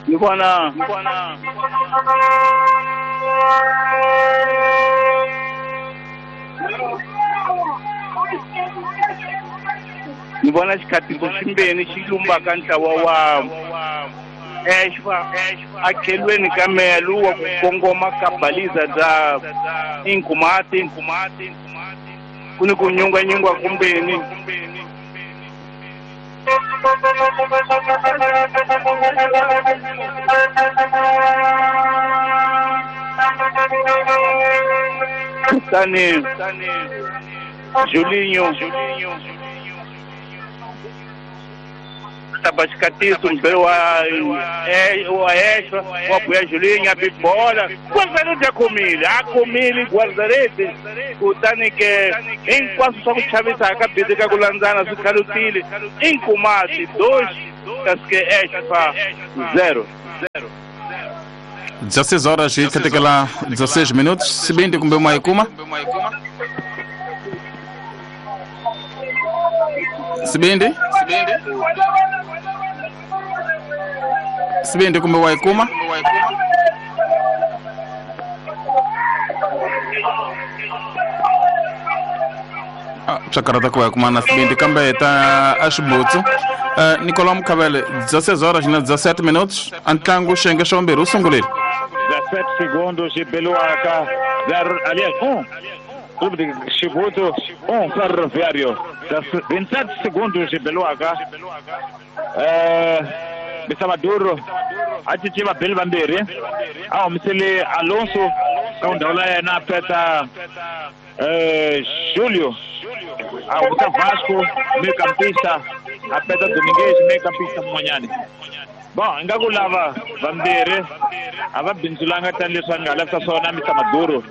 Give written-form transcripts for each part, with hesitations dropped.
Ni vona ni vona xikhatiso ximbeni xi lumbaka ntlawa wa Exfa akhelweni ka meya lowu wa ku kongoma ka baliza bya Inkhomati ku ni ku nyungwanyungwa kumbeni. Kutani Julinho taba xikatiso mbele wa Exfa wa buya Julinho a bibola Guardarete a khomile Guardarete kutani ke hinkwaswo swa ku chavisa ka bizi ka ku landzana swi khalutile Inkhomati 2 kasi ke Exfa 0. 16 horas e 16 minutos. Sibindi kumbe maikuma Sibindi Sibindi kumbe waikuma Chakarata kwa kuma na Sibindi kambe ta ashibutsu. Nicolau Mukavele, 16 horas e 17 minutos. Antlangu xenge xomberu sungulile. 17 segundos de Beluaca, 0, aliás, 1. Clube de Chibuto, 1 Ferroviário. 27 segundos de Beluaca. Bisamaduro, achitiva Bel Vambiri. Ah, Misele Alonso, kaundaula na peta Júlio. Ah, o Vasco, meio campista, a peta Domingues, meio campista Monhane. Bom, ngakulava Vambiri, ava bindzulanga tani leswi a nga lavisa swona Mr Maduro.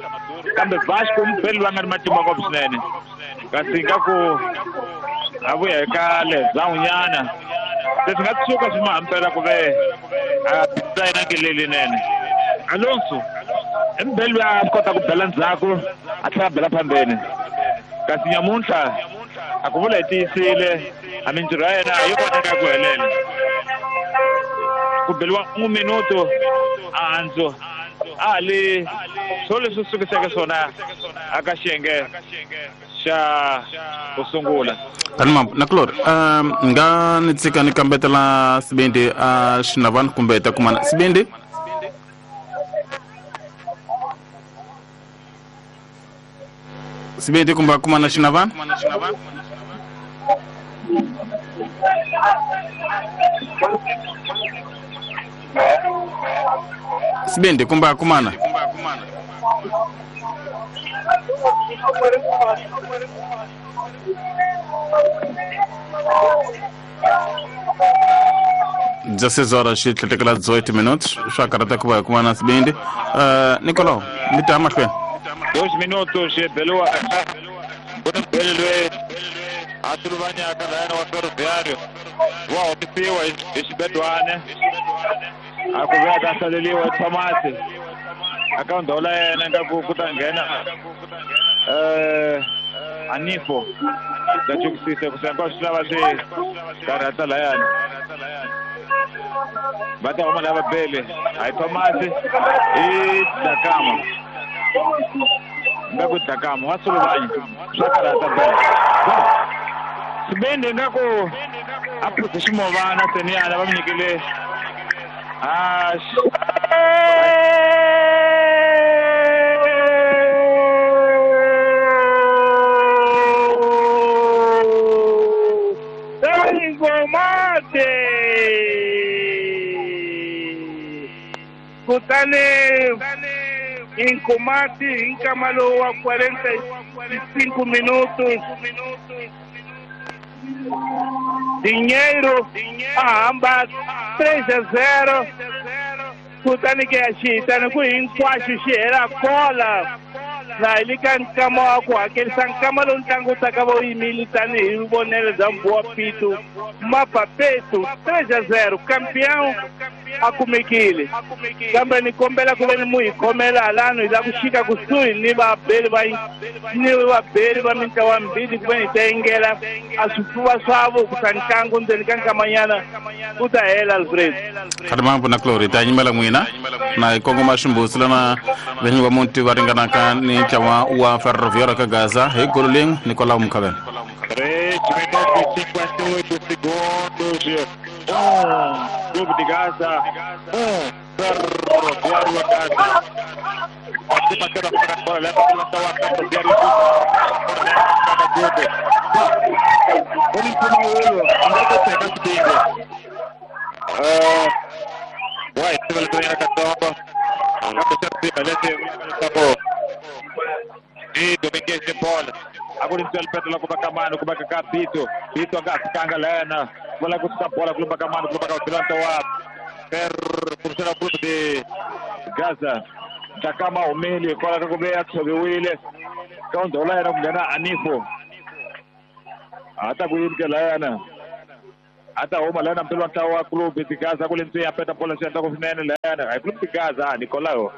Kambe Vasco mpeli va nga ri matimba ngopfu swinene. Kasi ngaku a vuya eka lezawunyana. Leswi nga tshuka swi mahampela ku ve a bindza yena ngelela. Alonso i mbeli loyi a kota ku bela ndzhaku a tlhela a bela phambeni. Kasi nyamuntlha a ku vula hi tiyisile a mintirho ya yena yi koteka ku helela. Ku beliwa 1 minuto a handzo a li swo leswi sukiseke swona aka xiyenge xa ku sungula. Tani nakulori nga ni tsika ni kambetela Sibindi a xinavani kumbe ta kumana Sibindi. Sibindi kumbe kumana xinavani. Sibindi kumbe kumana. 16 horas e 38 minutos. Só karata kuba kumana Sibindi. Nicolau, me tá mais bem. 2 minutos Belua. Asulvania kana wa Ferroviário. Wa opiwa isibedwane. Akuveka kasaleliwa Thomas. Akaundola yena ngaku kutangena. Anifo. Ndachukisise kusenga xilava swi karata layani. Va ta huma lava bele. Hayi Thomas i Dakama. Ngaku Dakama wa Suluvanya. Swa karata bele. Sibindi ngaku a phuze ximovana seniyana va mi nyikile Inkhomati kutani Inkhomati hi nkama lowu wa 45 minutos Dinheiro a hamba 3-0 kutani ke ya xihitani ku hinkwaxo xi hela kola na hi le ka nkama wa ku hakerisa nkama lowu ntlangu wu taka va wu yimile tanihi vonelo bya Mbuwa Pitu Mapapetu 3-0 campeão A kumekile kambe ni kombela ku ve ni mu hi khomela halano hi la ku xika kusuhi ni vabeli va ni vabeli va mintlawa mbili ku ve ni ta yingela a swifuva swavo ku sa ntlangu ndzeni ka nkamanyana ku ta hela Alfred. Khalimambo na Glory ta nyimela n'wina na hi kongoma ximbusi lana vinyi va muti va ringanaka ni ntlawa wa Ferroviário ka Gaza hi golo lin'we Nicolau Mukhavela. 3 minutos e 58 segundos. 1 Clube de Gaza, 1 Ferroviário a Gaza. Participa da bola, leva pela sua Ferroviário. Vai, e Domingues de bola. Agora o pé lá com o Bacamano, com o Bacacá, Bito. Bito a Lena. Vai lá com a bola, com o Bacamano, com o Bacamano, Ferro, o clube de Gaza. Takama umili, kola kakubeya tsobiwile. Kaunza ulayana kungena Anifo. Ata kuyimke layana. Ata huma layana mpilo ntawa clube de Gaza kule ntsiya peta bola ntsiya ntako finene layana. Ay clube de Gaza Nicolao.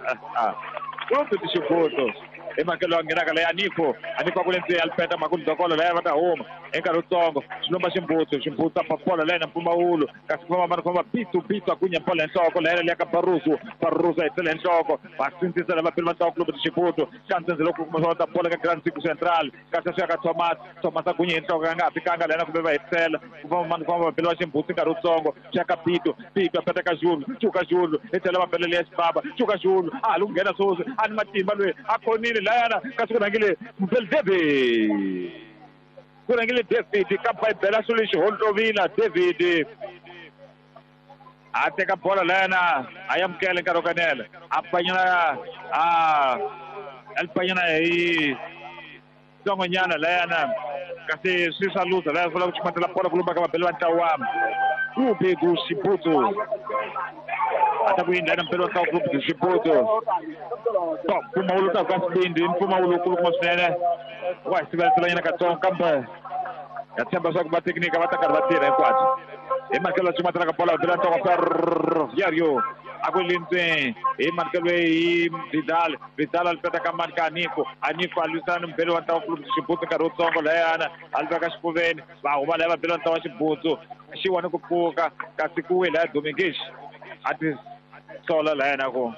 Clube de Chibuto. Emakelo angenaka leya Anifo. Anifo kule ntsiya alipeta makulu dokolo laya vata huma. Enkarhi wutsongo xilomba ximbutsu ximbutsu apa bola laya na mpfumawulo kasi ku famba mani famba Bitu Bitu akunya bola hi nhloko laya leya ka Barroso Barroso a hi nhloko va sindzisa lava pele va ntlawa club de Chibuto xa ntsendze loko kuma swa ta bola ka Grand Circo Central kasi swi ya ka Thomas Thomas akunya hi nhloko a nga ha fikanga laya na kumbe va hetisela ku famba mani famba va pele va ximbutsu nkarhi wutsongo swi ya ka Bitu Bitu a peta ka Julu Chuka Julu hi tlhela va pele leya xibaba Chuka Julu a ha li ku nghena sweswi a ni matimba loyi a khonile layana kasi ku rhangile Mbele David kurangile David ka Bibela swilo lexi holovila David a teka bola layana a yamukela nkarhi wo kanela a panyana a alipanyana hi tsongonyana layana kasi swi swa luza laya swi lava ku chumatela bola ku lumba ka vabeli va ntlawa Clube do Chibuto ata ku yindla na mpelo wa ntlawa Clube do Chibuto mpfumawulo ta ka xivindzi mpfumawulo kulukumba swinene wa hi siveletselanyana katsongo kambe ya tshemba swa ku va teknika va ta karhi va tirha hinkwabyo hi makelo chumatela ka bola vabeli va ntlawa Ferroviário a ku lindzeni hi manikelo hi Vidal Vidal a lipeta ka mani ka Anifo Anifo a lwisana ni mubeli wa ntlawa Clube de Chibuto nkarhi wutsongo layana a liveka xifuveni va huma laya vabeli va ntlawa Xibutsu xi wani ku pfuka kasi ku wile laya Domingues a ti sola layana ku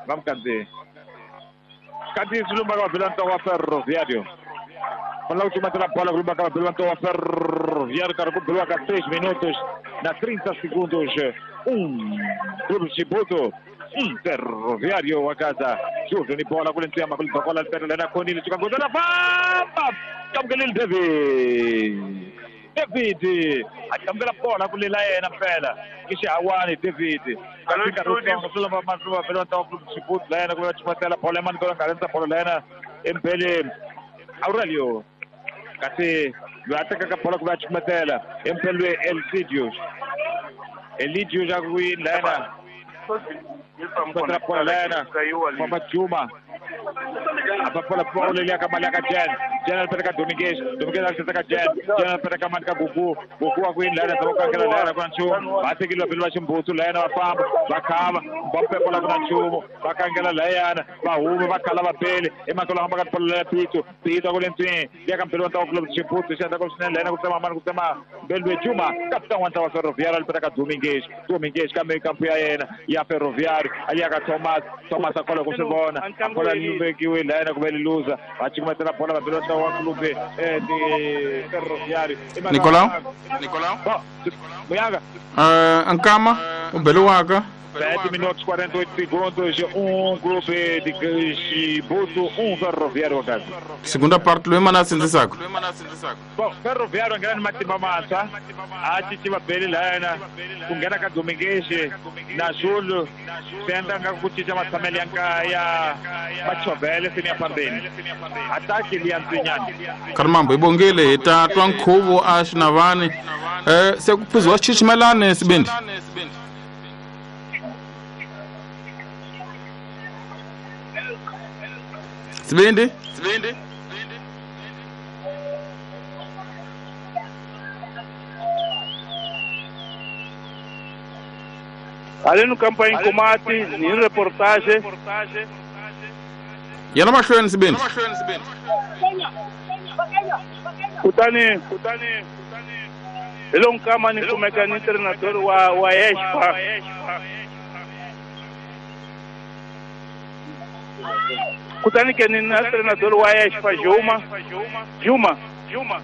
va mu kandziyi kanti swi lumba ka vabeli va ntlawa Ferroviário fanela ku chumatela bola ku lumba ka vabeli va ntlawa Ferroviário karhi ku beliwa ka 6 minutos na 30 segundos 1 Clube de Chibuto 1 Ferroviário wa Gaza Júlio ni bola kule ntsiyama kule dokola lipeta lena khonile chuka ngozana famba kamukelile David David a kamukela bola kule la yena mpela ki xihawani David kasi nkarhi wutsongo swi lomba matluva vele va ntlawa Clube de Chibuto la yena ku va chumatela bola ya mani kona nga rhandza bola la yena empeleni Aurelio kasi loyi a tekaka bola ku va chumatela empelweni Elcidius Elidius a ku yini layena chumatela bola layena famba Juma apa bola bola leya ka mali ya ka Jen Jen alipeta ka Domingues Domingues alipeta ka Jen Jen alipeta ka mali ka Gugu Gugu a ku yini layena zama ku kankela layena ku na nchumu va tekile vabeli va ximbutsu layena va famba va khava va pepola ku na nchumu va kankela layana va huma va khala vabeli emakelo hamba ka bola leya Bitu Bitu a ku le ntswini liya ka mbeli wa ntlawa Clube de Chibuto xi endla ku swinene layena ku tsema mani ku tsema mbeli Juma kapitani wa ntlawa Ferroviário alipeta ka Domingues Domingues kambe kampu ya yena ya Ferroviário ali ya ka Thomas Thomas a kola ku swi vona a bola li vekiwe layena ku ve li luza va cukumetela bola vabeli va ntlawa wa Clube de Ferroviário Nicolau Muyanga Nkama u beliwaka 7 minutos 48 segundos 1 Clube de Chibuto 1 Ferroviário wa Gaza segunda parte loyi mani a sindzisaka Bom, Ferroviário nghena ni matimba mantshwa a cinci vabeli layana ku nghena ka Domingues na Júlio swi endla nga ku cinca matshamelo ya ya machovhele seni ya fambeni ataki liya ntsinyana Khalimambo hi bongile hi ta twa nkhuvo a xinavani se ku phuziwa xichichimelani sibindi Sibindi Haleno campo ya Inkomati ni reportage. Yena mahlweni Sibindi. Kutani hi lo nkama ni kumeka ni treinador wa Expa. Kutani ke ni na treinador wa Expa Juma. Juma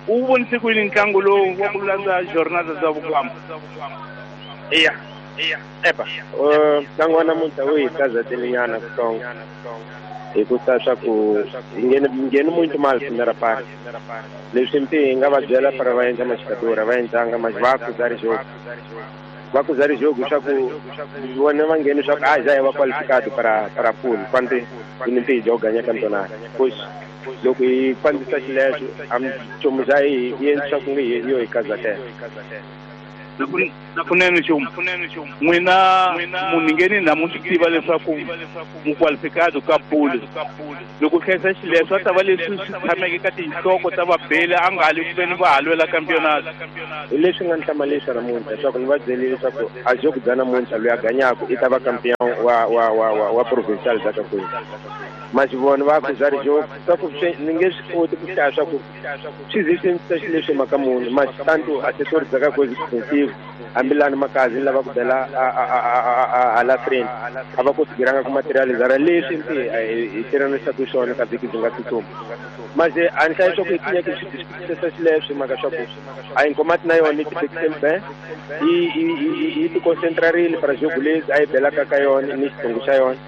u vonise ku yini ntlangu lowu wa ku landza jornada za vukamba? Iya. Epa. Ntlangu wa namuntlha wu hi kazatelinyana kutsongo. Hikusa swa ku ngheni muito mal primeira parte. Leswi mpi hi nga va byela para va endla maxikadora va endlanga mas va acusar jogo. Va acusar jogo swa ku vona va ngheni swa ku a já é va qualificado para pool quando hi mpi joga ganha campeonato. Pois loko hi fambisa xileswo a nchumu xa hi endli swa ku nge hi yo hi kazatela. Kunene Xuma n'wina munhu ngeni na mu swi tiva leswaku mu qualificado ka pool. Loko hlayisa xileswo a ta va leswi swi tshameke ka tinhloko ta vabeli a nga hali ku veni va ha lwela campeonato. Hi leswi nga ni hlamalisa namuntlha leswaku ni va byelile leswaku a jogo bya namuntlha loyi a ganyaku i ta va campeon wa provincial bya ka kwini. Mas vona va acusar jogo swa ku ni nge swi koti ku hlaya swa ku swi ze swi endlisa xileswi mhaka muni mas tanto assessor bya ka kwezi defensive hambilani makazi lava ku bela hala frente a va konsigiranga ku materializara leswi mpi hi tirhanisaka swona ka vhiki byi nga tsutsuma. Mas a ni hlayi swa ku hi tinyeke swi diskusisa xileswi mhaka swa ku a Inkomati na yona yi tifekiseni be yi ti concentrarile para jogo lezi a yi belaka ka yona ni xitungu xa yona.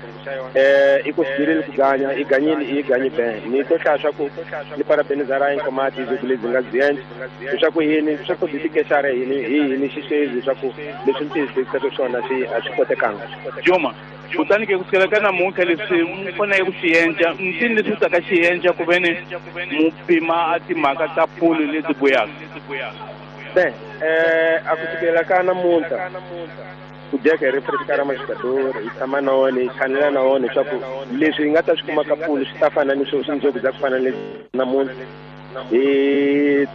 I konsigirile ku ganya i ganyile i ganyi be ni to hlaya swa ku ni parabenizara Inkomati jogo lezi nga byi endla leswaku yini swa ku byi tikexara yini hi yini xiswezi leswaku leswi ni tiyisisaka swona swi a swi kotekanga. Juma kutani ke kusukela ka namuntlha leswi mu faneleke ku swi endla ntini leswi taka xi endla ku veni mu pima a timhaka ta pool leti buyaka. Be a kusukela ka namuntlha ku dyeka hi refreshkara maxikadori hi tshama na wona hi chanela na wona leswaku leswi hi nga ta swi kuma ka pool swi ta fana ni swo swinjoku bya ku fana ni namuntlha. Hi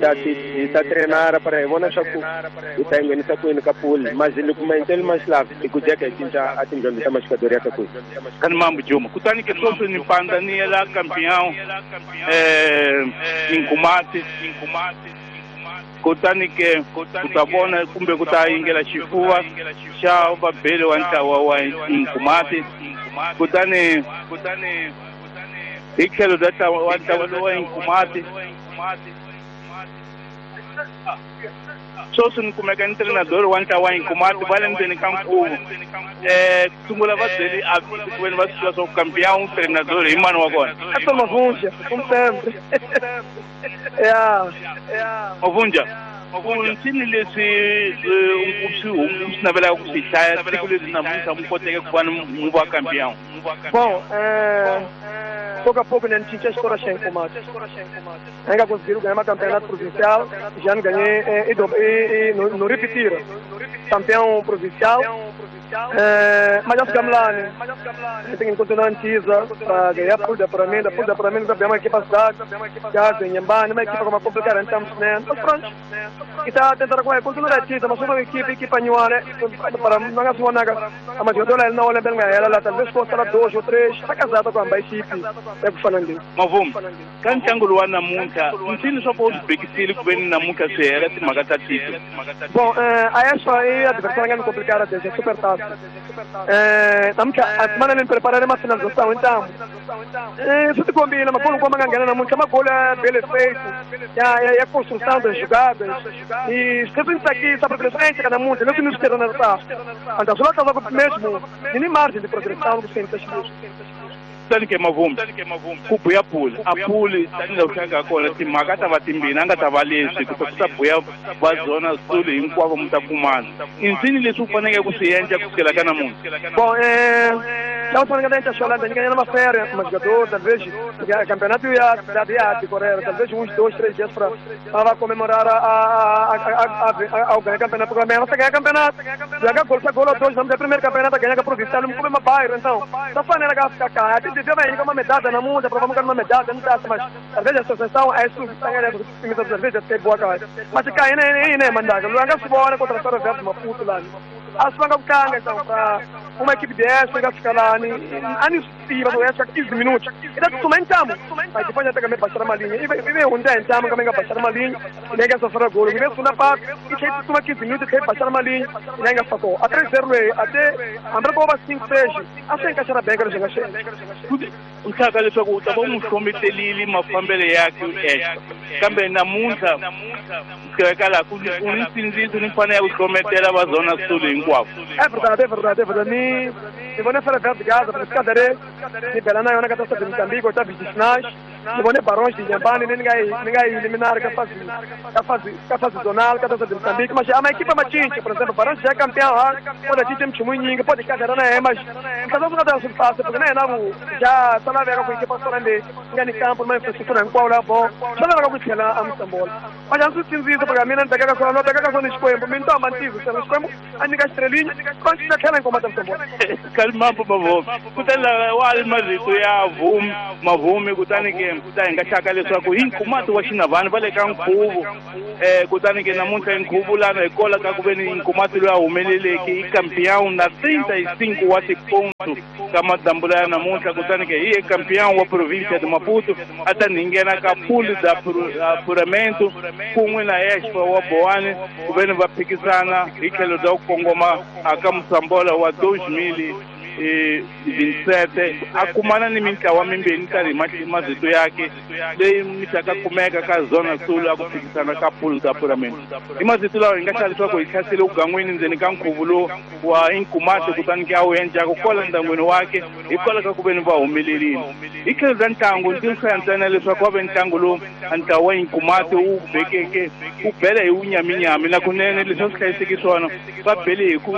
ta trenara para hi vona swa ku hi ta nghenisa kwini ka pool mas loko maendlelo ma xilava i ku dyeka hi cinca a tindyondzo ta maxikadori ya ka kwini. Kani mambo Juma kutani ke sweswi ni pandza ni yela campeão Inkomati kutani ke ku ta vona kumbe ku ta yingela xifuva xa vabeli wa ntlawa wa Inkomati kutani hi tlhelo bya ntlawa wa Inkomati sweswi ni kumeka ni treinador wa ntlawa wa Inkomati va le ndzeni ka nkhuvo. Sungula va byeli a ku veni va swi tiva swa ku campeão treinador hi mani wa kona. Essa Mavunja, como sempre. Mavunja, ntini leswi swi navelaka ku swi hlaya siku leswi namuntlha mu koteke ku va mu va campeão? Bom, pouco a pouco, né, a história sem combate. Ainda conseguiram ganhar uma campeonato provincial, já não ganhei e não repetiram. Campeão provincial, mas já ficamos lá, né? Tem que continuar em Tisa para ganhar por de apuramento, também uma equipa cidade, já tem Nhambane, uma equipa como complicada, então, né? Mas pronto, e está tentando continuar a Tisa, mas uma equipe nenhuma, né? Para não ganhar nada, a maioria não olha bem ela, talvez custa 2 ou 3, está casada com a equipe. É ku fana ndi. Mavuma ka ntlangu lowu wa namuntlha ntini swa ku u swi bekisile ku veni namuntlha swi hela timhaka ta tito? Bom, a essa aí adversária é complicada, é super fácil. Namuntlha a semana ni preparare uma finalização, então isso te combina, mas quando como ganhar namuntlha magolo é bem feito, é a construção das jogadas e sempre isso aqui está progressão entra namuntlha, não se nos quer na tá. Então só tá mesmo, nem margem de progressão do centro. Kutani ke Mavuma ku buya pool a pool tanihi loko nga kona timhaka ta va timbirhi a nga ta va leswi ku ta buya va zona sul hinkwavo mu ta kumana i nsini leswi u faneleke ku swi endla kusukela ka namuntlha? Bom, não só ninguém está chorando, ninguém é uma férias, mas jogador, talvez o campeonato ia decorrer, talvez uns 2, 3 dias para comemorar ao ganhar campeonato, porque amanhã você ganha campeonato, joga gol, gol 2, vamos ter primeiro campeonato, ganha a provincial, não come uma bairro, então, só falando que ficar cá, até devia vai uma medalha na mão, para vamos ganhar uma medalha, não dá, mas talvez a associação é isso, talvez é boa, mas cá, nem mandar, não é que se contra a história de Maputo lá. A swi vanga ku tlanga então pra uma equipe dessa nga fika lani a ni swi tiva ku ya 15 minutos i ta tsutsuma hi ntamu mas depois já pega baixar uma linha e vem hundza hi ntamu kambe nga baixar uma linha leyi nga safara golo yi ve sungula patu yi tlhela yi tsutsuma 15 minutos yi tlhela yi baixar uma linha leyi nga fako a 3-0 leyi a te hambi ri ko va 5-6 a swi enkaxara benka leswi nga swi U hlaka leswaku u ta va u n'wi hlometelile mafambelo yakhe extra kambe namuntlha kufikela laha ku u ni nsindziso ni mfanelo ya ku hlometela va zona sulu hinkwavo. É verdade, é verdade, é verdade. Ni ni vone Ferroviário de Gaza, porque cadê ni bela na yona ka Taça de Moçambique, oitavos de finais. Ni vone Barões de Inhambane, ni nga yi ni nga yi eliminar ka fase zonal ka Taça de Moçambique, mas é uma equipa machincha, por exemplo, Barões já é campeão, ah, pode atingir mchumu nyingi, pode cadê na yena, mas ntlhela swi nga ta swi fácil, porque na yena ku ja swa laveka ku equipa swa leyi nga ni campo na infrastructure hinkwawo la bo swa laveka ku tlhela a Moçambola. Mas a swi sindzisa porque a mina ni tekaka swona, no tekaka swona Xikwembu, mina ni to hamba ni tivisa Xikwembu a nyika xitrelinyo, va xi tlhela ni komata Moçambola. Kalimambo mavhumi kutani wa ri marito ya vhumi mavhumi kutani ke ta hi nga hlaka leswaku hi nkumati wa xinavhani va le ka nkhuvo kutani ke namuntlha nkhuvo lana hi kola ka ku ve ni nkumati loyi a humeleleke i campeão na 35 wa tiponto ka madambula ya namuntlha kutani ke hi ye campeão wa província de Maputo a ta nghena ka pool da apuramento kun'we na Expo wa Boane ku ve ni va phikisana hi tlhelo bya ku kongoma aka Moçambola wa 2027 a kumana ni mintlawa mimbirhi tanihi mavito yakhe leyi mi kumeka ka zona sul a ku phikisana ka pool da apuramento hi mavito lawa hi nga hlaya leswaku hi hlasele ugangwini ndzeni ka nkhuvo lowu wa inkumati kutani ke a wu endlaku kwala ndyangwini wakhe hikwalaho ka ku ve ni va humelerile hi tlhelo bya ntlangu ndzi hlaya ntsena leswaku wa ve ntlangu lowu a ntlawa wa inkumati wu bekeke wu bele hi wunyaminyami na kunene leswi a swi hlayiseki swona va bele hi ku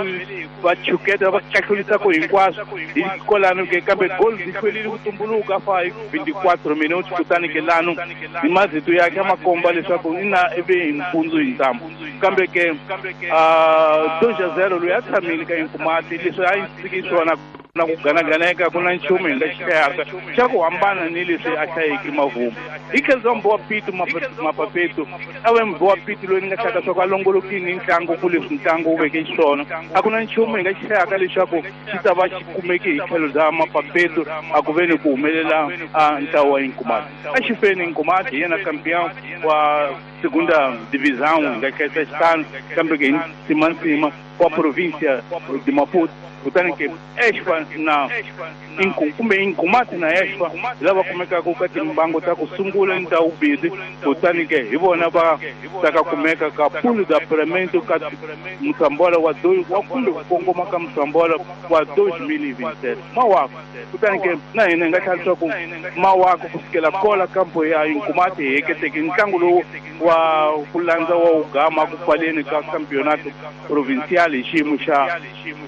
va chuketa va kahlurisaku hinkwaswo hi kolano ke kambe goal byi hlwerile ku tumbuluka fa hi 24 minutes kutani ke lano hi mavito yakhe a ma komba leswaku ina i ve hi mpundzu hi ntambu kambe ke 2-0 loyi a tshamile ka inkumati leswi a yi siki swona na ku ganaganeka ku na nchumu hi nga xi hlayaka xa ku hambana ni leswi a hlayeke mavhumu hi tlhelo bya mbowa pitu mapapetu a ve mbowa pitu loyi ni nga hlaka swa ku a longolokini ntlangu ku leswi ntlangu wu veke xiswona a ku na nchumu hi nga xi hlayaka leswaku xi ta va xi kumeke hi tlhelo bya mapapetu a ku ve ni ku humelela a ntlawa wa inkumati a xi feni inkumati hi yena campeão wa segunda divisão hi nga hlayisa xitano kambe ke hi nsimantsima wa província de Maputo kutani ke Expa na kumbe Inkumati na Expa lava kumekaka ka timbangu ta ku sungula ni ta vumbirhi kutani ke hi vona va ta ka kumeka ka pool de apuramento ka Moçambola wa wa kumbe ku kongoma ka Moçambola wa 2027 mawako kutani ke na hina hi nga tlhela leswaku mawako kusukela kola kampo ya Inkumati hi heketeke ntlangu lowu wa ku landza wa ugama ku pfaleni ka campeonato provincial hi xiyimo xa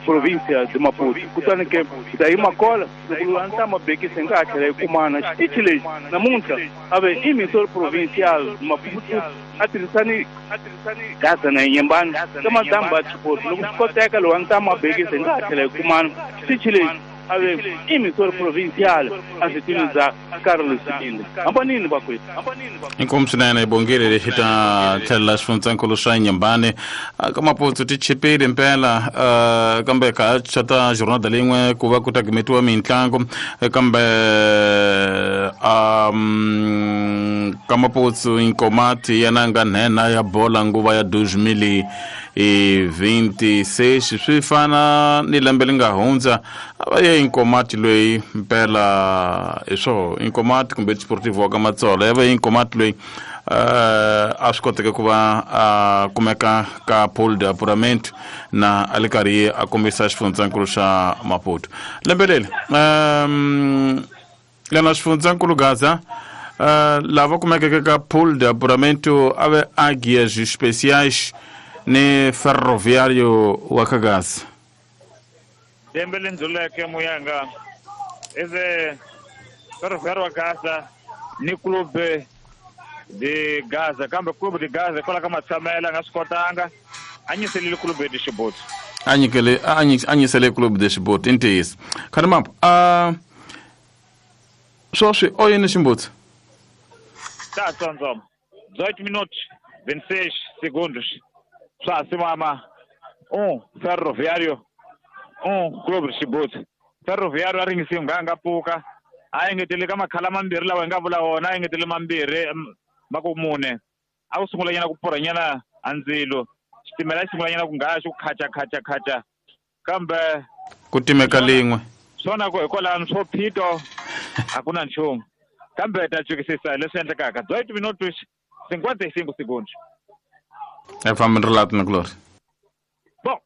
provincia de Maputo kutani ke hi ta yima kola loko loyi a ni ta mabekisa hi nga ha tlhela hi kumana xitichi lexi namuntlha a ve emissor provincial Maputo a tirhisani Gaza na Inhambane ka madambu ya Chipotle loko swi koteka loyi a ni ta mabekisa hi nga ha tlhela hi kumana xitichi lexi a ve emissor provincial a switini bya Carlos Sibinde hambanini vakwethu. Inkomu swinene bongile lexi ta tlhelela xifundzankulu swa Inhambane ka Maputo ti chipile mpela kambe ka xa ta jornada leyin'we ku va ku ta gimetiwa mintlangu kambe ka Maputo Inkomati yena nga nhenha ya bola nguva ya 2026 swi fana ni lembe li nga hundza a va ye Inkomati loyi mpela hi swo Inkomati kumbe Sportivo wa ka Matsolo ya va ye Inkomati loyi a swi koteke ku va a kumeka ka pool de apuramento na a li karhi a kombisa xifundzankulu xa Maputo lembe leri lena xifundzankulu Gaza lava kumekeke ka pool de apuramento a ve Águias Especiais ni Ferroviário wa ka Gaza. Lembe leri ndluleke muyanga ive Ferroviário wa Gaza ni Clube de Gaza kambe Clube de Gaza hikwalaho ka matshamela a nga swi kotanga a nyiselile Clube de Chibuti. A nyikele a nyisele Clube de Chibuti i ntiyiso khanimambo a swoswi o yini ximbutsi. Ta tsondzo 18 minutos 26 segundos swa ha simama. 1 Ferroviário 1 Clube Chibuti. Ferroviário a ringisi nga nga pfuka a engetele ka makhala mambirhi lawa hi nga vula wona a engetele mambirhi ma ku mune a ku sungula nyana ku pfurha nyana a ndzilo xitimela xi sungula nyana ku ngaya xi ku khacha khacha khacha kambe ku timeka lin'we swona ku hikwalano swo phito a ku na nchumu kambe ta chukisisa leswi endlekaka 18 minutos 55 segundos. É fambeni relato na Glória. Bom,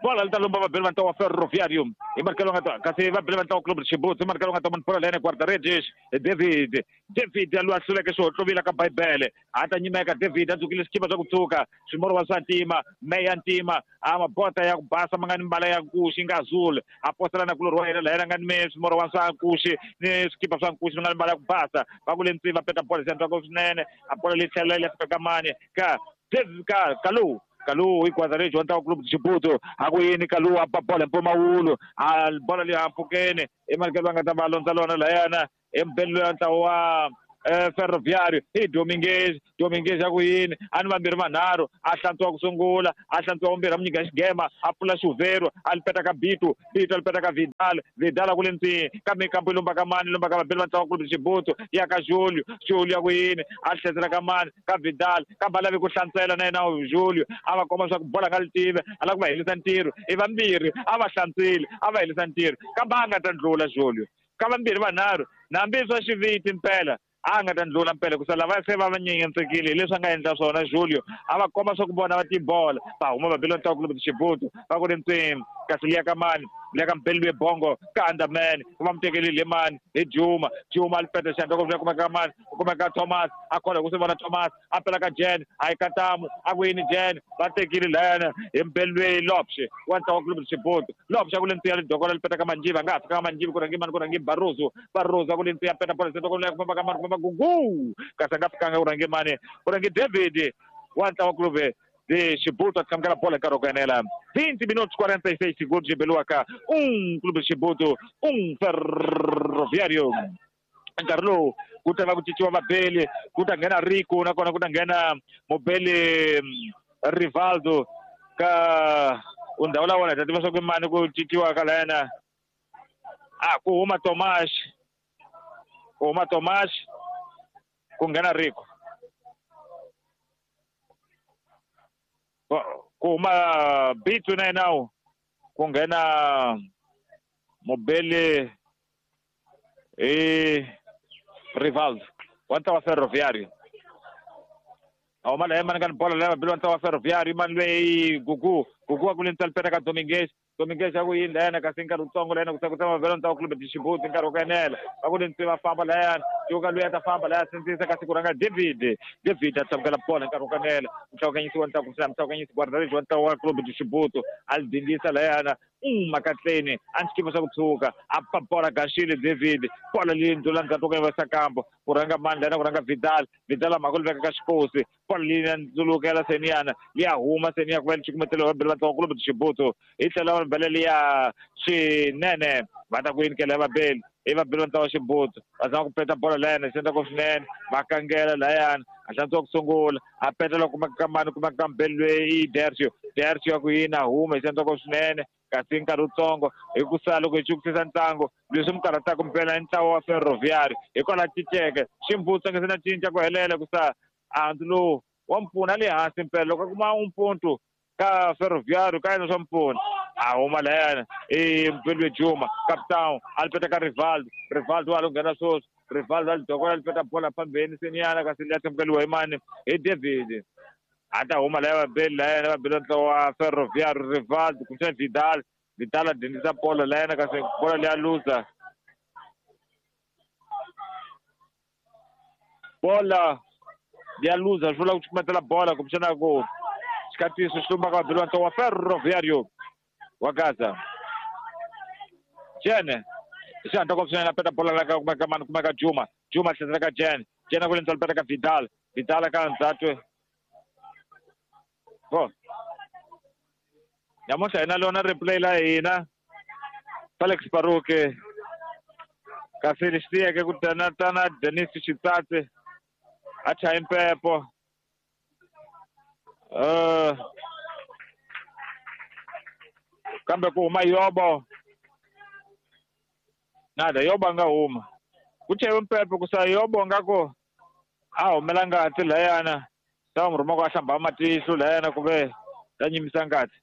bola li ta lomba vabeli va ntlawa wa Ferroviário hi markelo nga ta kasi vabeli va ntlawa wa Clube de Chibuti hi markelo nga ta mani bola leyene guarda-redes David David loyi a hluleke xihohlovila ka Bibele a ta nyimeka David a dzukile swikipa swa ku tshuka swimoro swa ntima meya ntima a mabota ya ku basa ma nga ni mbala ya nkuxi nga azul a posela na kulorhi wa yena laha yena nga ni swimoro wa swa nkuxi ni swikipa swa nkuxi nga ni mbala ya ku basa va ku le ntsini va peta bola xi swinene a bola leyi tlhela yi fika ka mani ka David ka Kalu Kalu i wa ntlawa Clube de Chibuti a ku yini Kalu a ba bola hi mpfumawulo a bola leyi hampfukeni i marikelo va nga ta va londza lona layana i mubeli loyi wa ntlawa wa Ferroviário i Dominguez Dominguez a ku yini a ni vambirhi vanharhu a hlantswiwa ku sungula a hlantswiwa vumbirhi a mu nyika xigema a pfula xuvhero a li peta ka Bitu Bitu a li peta ka Vidal Vidal a ku le ntsini kambe kampo yi lomba ka mani lomba ka vabeli va ntlawa Clube de Chibuti ya ka Julio Julio a ku yini a tlhesela ka mani ka Vidal kambe a lavi ku hlantswela na yena Julio a va komba leswaku bola nga li tive a lava ku va helisa ntirho i vambirhi a va hlantswile a va helisa ntirho kambe a nga ta ndlula Julio ka vambirhi vanharhu nambi swa xiviti mpela a nga ta ndlula mpela ku sala va se va va nyenyetsekile hi leswi a nga endla swona Julio a va komba swa ku vona va tibola va huma vabeli va ntlawa Clube de Chibuti va ku ri ntsini kasi liya ka mani liya ka mbeli lwe bongo ka Underman va mu tekelile mani hi Juma Juma a li peta xandla ku kuma ka mani ku kuma ka Thomas a khola ku swi vona Thomas a pela ka Jen a yi katamu a ku yini Jen va tekile layana hi mbeli lwe Lopshe wa ntlawa Clube de Chibuti Lopshe a ku le ntsini ya lidokola li peta ka Manjiva a nga ha fika ka Manjiva ku rhangi mani ku rhangi Barroso Barroso a ku le ntsini ya peta bola ku famba ka mani ku famba Gugu kasi a nga fikanga ku rhangi mani ku rhangi David wa ntlawa Clube de Chibuti a tshamukela bola nkarhi wa ku enela 20 minutos 46 segundos byi beliwaka 1 Clube de Chibuti 1 Ferroviário. Nkarhi lowu ku ta va ku cinciwa vabeli ku ta nghena Rico nakona ku ta nghena mubeli Rivaldo ka undhawu la wona hi ta tiva swa ku mani ku cinciwa ka layena a ku huma Tomas ku huma Tomas ku nghena Rico ku huma Bitu na yena ku nghena mubeli i Rivaldo wa ntlawa Ferroviário a huma laha mani ka ni bola leyi vabeli wa ntlawa Ferroviário mani lweyi Gugu Gugu a ku le ntsali peta ka Dominguez Dominguez a ku yini layana kasi nkarhi wutsongo layana ku se ku tshama vabeli wa ntlawa Clube de Chibuti nkarhi wa ku enela va ku le ntsini va famba layana cuka loyi a ta famba laya sindzisa kasi ku rhanga David David a tlamukela bola nkarhi wa ku enela muhlawukanyisi wa ntlawa kumbexana muhlawukanyisi guarda-redes wa ntlawa wa Clube de Chibuti a li dindisa layana makatleni a ni xikipa swa ku tshuka a pa bola gaxile David bola leyi ndlula ndzhaku ka yivasa kambo ku rhanga mani layana ku rhanga Vidal Vidal a mhaka li veka ka xikosi bola leyi ya ndzulukela seniyana liya huma seniya ku va li cukumetela vabeli va ntlawa Clube de Chibuti hi tlhela va bela liya swinene va ta ku yinikela vabeli i vabeli va ntlawa Chibuti va zama ku peta bola layana xi endla ku swinene va kangela layana a hlantswiwa ku sungula a peta loko kumeka ka mani kumeka ka mbeli lweyi i Dercio Dercio ya ku yini a huma hi xi endla ku swinene kasi nkarhi wutsongo hi ku sala loko hi chukisisa ntlangu leswi mi karhataka mpela i ntlawa wa Ferroviário hikwalaho cinceke ximbutsa nga se na cinca ku helela ku sa andzu lowu wa mpfuna le hansi mpela loko a kuma umpuntu ka Ferroviário ka yena swa mpfuna a huma layana i Mpelwe Juma capitão a li peta ka Rivaldo Rivaldo wa lo nghena sweswi Rivaldo a li dokola li peta bola phambeni seniyana kasi liya thamukeliwa hi mani hi David a ta huma laya vabeli layana vabeli va ntlawa wa Ferroviário Rivaldo kumbexana Vidal Vidal a dindisa bola layana kasi bola liya luza bola liya luza swi vula ku cukumetela bola kumbexana ku xikatiso xi lumbaka vabeli va ntlawa wa Ferroviário wa Gaza Jene xi hatla ku swinene a peta bola la ka kumeka mani kumeka Juma Juma tlhesela ka Jene Jene ku le ntsali peta ka Vidal Vidal ka ndzhaku bo namuntlha hi na lona replay la hina Felix Baruke kasi lexi tiyeke ku tana Denis Xitsatsi a chaye mpepo Kambe ku huma Yobo. Nada Yobo a nga huma. Ku cheriwe mpepe ku sa Yobo nga ku a humela ngati layana. Ta n'wi rhuma ku a hlamba matihlo layana ku ve ta nyimisa ngati.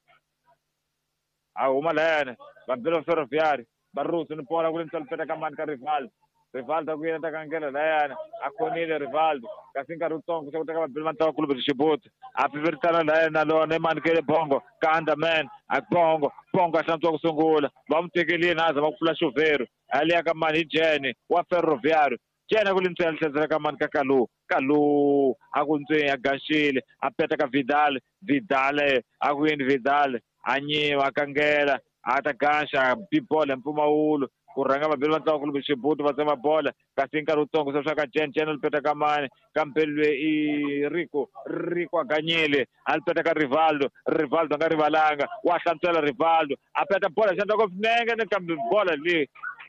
A huma layana vambirhi Ferroviário. Barroso ni bola kule ntsalo ka mani ka Rivaldo. Rivaldo ku yena ta kangela layana a khonile Rivaldo kasi nkarhi wutsongo se ku teka vabili va ntlawa Clube de Chibuto a piviritana layana na lona emani kele Bongo ka Underman a Bongo Bongo a hlantswa ku sungula va n'wi tekelile na a zama ku pfula xuvhero a liya ka mani hi Jene wa Ferroviário. Jene ku le ntsena tlhedzela ka mani ka Kalu Kalu a ku ntsweni a ganxile a peta ka Vidal Vidal a ku yini Vidal a nyiwa a kangela a ta ganxa bibolo mpfumawulo ku rhanga vabili va ntlawa Clube Chibuto va tsema bola kasi nkarhi wutsongo se swa ka Jen Jen lipeta ka mani kambe lwe i Rico Rico a ganyile a lipeta ka Rivaldo Rivaldo a nga rivalanga wa hlantswela Rivaldo a peta bola xandla ko nenge ni kambe bola leyi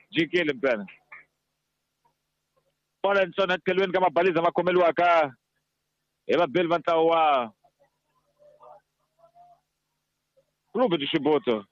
jikile mpela bola ntsona tlhelweni ka mabaliza ma khomeliwaka hi vabili va ntlawa wa Clube de Chibuto.